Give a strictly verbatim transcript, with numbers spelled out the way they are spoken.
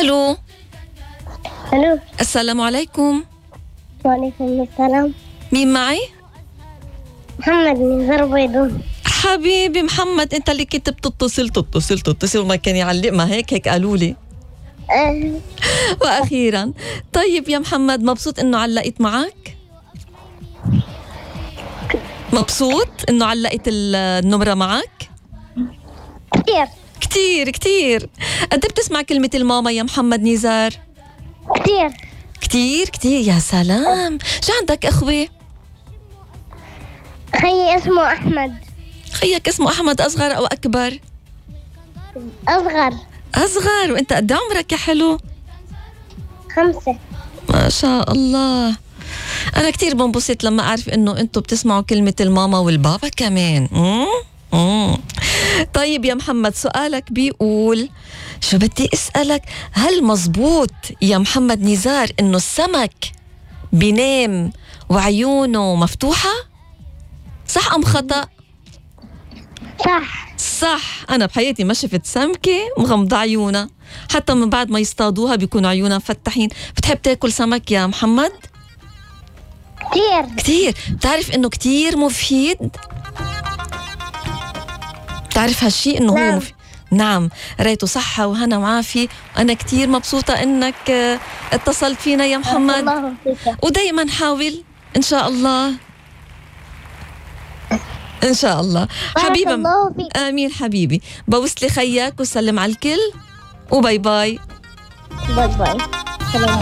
ألو ألو. السلام عليكم. وعليكم السلام. مين معي؟ محمد من زربيدون. حبيبي محمد، انت اللي كنت بتتصل تتصل تتصل وما كان يعلق، ما هيك هيك قالوا لي. أه. واخيرا. طيب يا محمد، مبسوط انه علقت معك؟ مبسوط انه علقت النمرة معك؟ كتير كتير كتير. قد بتسمع كلمة الماما يا محمد نزار؟ كتير كتير كتير. يا سلام. شو عندك اخوة؟ خيي اسمه أحمد. خيك اسمه أحمد، أصغر أو أكبر؟ أصغر. أصغر. وأنت قد عمرك يا حلو؟ خمسة. ما شاء الله. أنا كتير بنبسط لما أعرف إنه أنتوا بتسمعوا كلمة الماما والبابا كمان. مم؟ مم. طيب يا محمد، سؤالك بيقول شو بدي أسألك، هل مزبوط يا محمد نزار إنه السمك بينام وعيونه مفتوحة؟ صح أم خطأ؟ صح. صح. أنا بحياتي ما شفت سمكة مغمضة عيونها، حتى من بعد ما يصطادوها بيكون عيونها مفتحين. بتحب تاكل سمك يا محمد؟ كتير كتير. بتعرف إنه كتير مفيد؟ بتعرف هالشي إنه نعم. هو مفيد؟ نعم. ريته صحة وهنا وعافية. أنا كتير مبسوطة إنك اتصلت فينا يا محمد، الله فيك. ودايما حاول إن شاء الله. إن شاء الله حبيبي. الله فيك. آمين حبيبي. بوصلي خياك وسلم على الكل، وباي باي. باي باي. سلام.